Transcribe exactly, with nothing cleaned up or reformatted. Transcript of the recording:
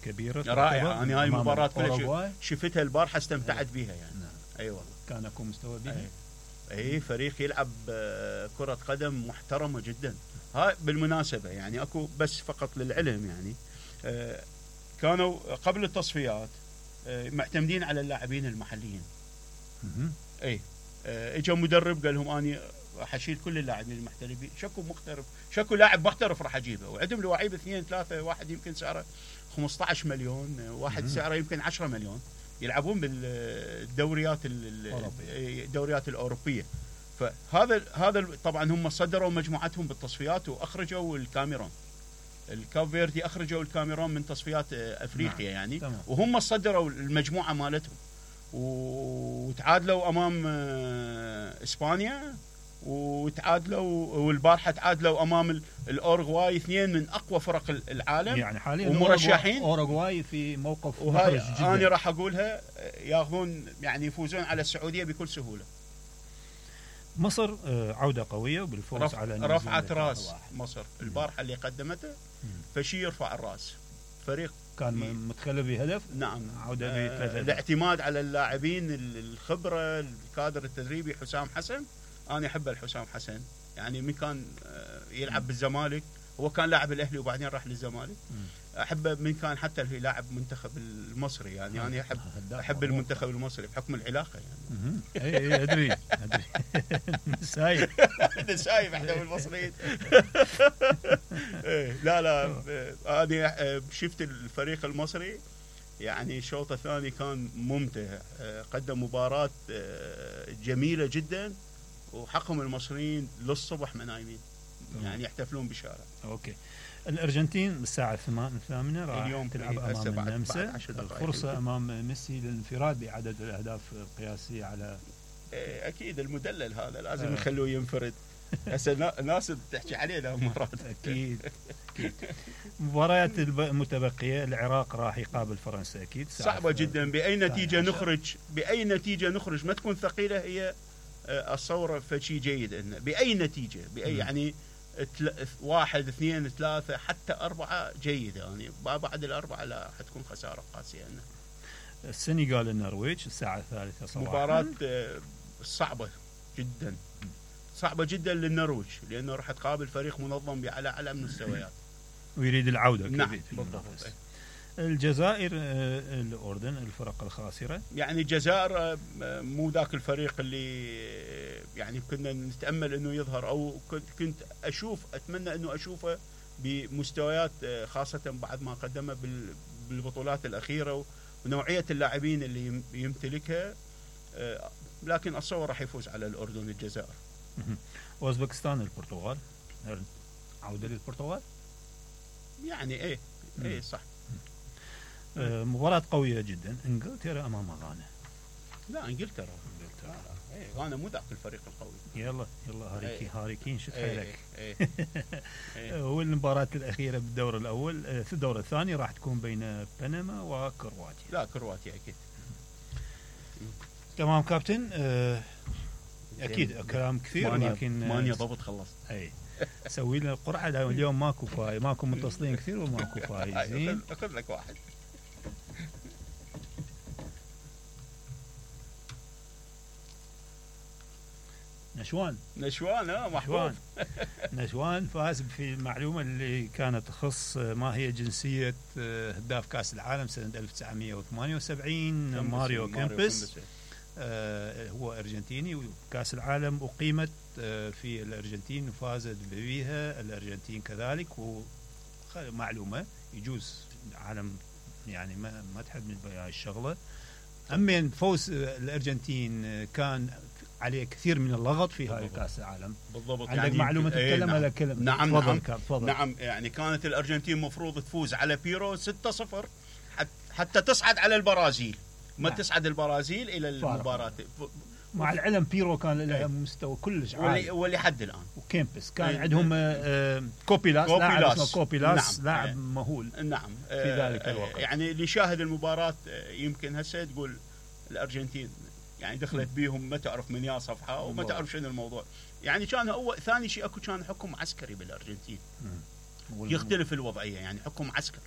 كبيرة رائعة. أنا هاي المباراة كلها شفتها البارحة استمتعت بها يعني. نعم. أي أيوة والله. كان أكو مستوى بها. أي. أي فريق يلعب كرة قدم محترمة جدا. هاي بالمناسبة يعني أكو بس فقط للعلم يعني كانوا قبل التصفيات معتمدين على اللاعبين المحليين. أي اجى مدرب قال لهم أنا راح اشيل كل اللاعبين المحترفين، شكو محترف شكو لاعب محترف راح اجيبه، وعندهم لعيبه اثنين ثلاثه، واحد يمكن سعره خمسة عشر مليون، واحد سعره يمكن عشرة مليون، يلعبون بالدوريات الدوريات الاوروبيه. فهذا هذا طبعا هم صدروا مجموعتهم بالتصفيات واخرجوا الكاميرون، الكافيردي اخرجوا الكاميرون من تصفيات افريقيا. نعم. يعني تمام. وهم صدروا المجموعه مالتهم وتعادلوا امام اسبانيا، وتعادلوا والبارحه تعادلوا امام الاورغواي، اثنين من اقوى فرق العالم يعني حاليا، ومرشحين. اوروغواي في موقف محرج جدا. انا راح اقولها ياخذون يعني يفوزون على السعوديه بكل سهوله. مصر عوده قويه بالفوز رف... على نيوزيلندا. رفعت راس مصر البارحه اللي قدمته، فشي يرفع الراس. فريق كان متخلف بهدف. نعم. عوده بثلاث آه الاعتماد على اللاعبين، الخبره، الكادر التدريبي. حسام حسن انا احب الحسام حسن، يعني من كان يلعب بالزمالك، هو كان لاعب الاهلي وبعدين راح للزمالك. احبه من كان حتى هو لاعب منتخب المصري، يعني انا احب احب المنتخب المصري بحكم العلاقه يعني. اي اي ادري ادري نسايب نسايب احنا بالمصريين. لا لا انا شفت الفريق المصري يعني الشوط الثاني كان ممتع، قدم مباراه جميله جدا، وحقهم المصريين للصبح ما نايمين يعني يحتفلون بشارع. اوكي. الارجنتين الساعه الثامنة راح تلعب امام النمسا، الفرصه امام ميسي للانفراد بعدد الاهداف القياسيه على اكيد المدلل هذا لازم آه. نخلوه ينفرد. هسه الناس بتحكي عليه مرات. اكيد اكيد. مباريات المتبقيه، العراق راح يقابل فرنسا، اكيد صعبه جدا. باي نتيجه نخرج باي نتيجه نخرج ما تكون ثقيله، هي الصورة فشي جيد إنه بأي نتيجة بأي م. يعني واحد اثنين ثلاثة حتى أربعة جيدة، يعني بعد الأربعة لا حتكون خسارة قاسية. إنه السنغال النرويج الساعة الثالثة صباحا، مباراة صعبة جدا، صعبة جدا للنرويج لأنه راح تقابل فريق منظم على أعلى المستويات ويريد العودة. نعم بالضبط. الجزائر الأردن الفرق الخاسرة، يعني الجزائر مو ذاك الفريق اللي يعني كنا نتأمل أنه يظهر، أو كنت أشوف أتمنى أنه أشوفه بمستويات خاصة بعد ما قدمه بالبطولات الأخيرة ونوعية اللاعبين اللي يمتلكها، لكن أتصور راح يفوز على الأردن الجزائر. أوزبكستان البرتغال، عودة للبرتغال يعني إيه إيه صح. آه مباراة قوية جدا. انجلترا امام غانا. لا انجلترا انجلترا ايه غانا مو ذاك الفريق القوي. يلا يلا هاريكين ايه هاريكين شد حيلك. ايه ايه ايه والمباراة الأخيرة بالدور الأول في الدور الثاني راح تكون بين بنما وكرواتيا. لا كرواتيا أكيد. تمام كابتن. اه أكيد كلام كثير لكن مانيا ضبط خلص. أي سوي لنا القرعة اليوم. ماكو فاي ماكو متصلين كثير وماكو فايزين. أخذ لك واحد. نشوان نشوان اه محفوظ. نشوان فاز في المعلومة اللي كانت تخص ما هي جنسية هداف كأس العالم سنة ألف وتسعمائة وثمانية وسبعين ماريو كيمبس. آه هو أرجنتيني، وكأس العالم أقيمت آه في الأرجنتين وفازت بها الأرجنتين كذلك. ومعلومة يجوز عالم يعني ما ما تحب هاي الشغلة. أمين فوز الأرجنتين كان عليه كثير من اللغط في هاي كأس العالم. بالضبط. عندك يعني معلومة تتكلم نعم. على كلمة. نعم نعم. تفضل. نعم يعني كانت الأرجنتين مفروض تفوز على بيرو ستة صفر حتى تصعد على البرازيل، ما نعم. تصعد البرازيل إلى المباراة. مع العلم بيرو كان له مستوى كلش عالي ولحد الآن. وكيمبس كان ايه عندهم آه كوبيلاس, كوبيلاس لاعب اسمه كوبيلاس. نعم. لاعب مهول. نعم في ذلك الوقت. يعني اللي شاهد المباراة يمكن هسه تقول الأرجنتين يعني دخلت بيهم ما تعرف من يا صفحة وما تعرف شنو الموضوع. يعني كان أول ثاني شيء أكو كان حكم عسكري بالأرجنتين. يختلف الوضعية يعني حكم عسكر.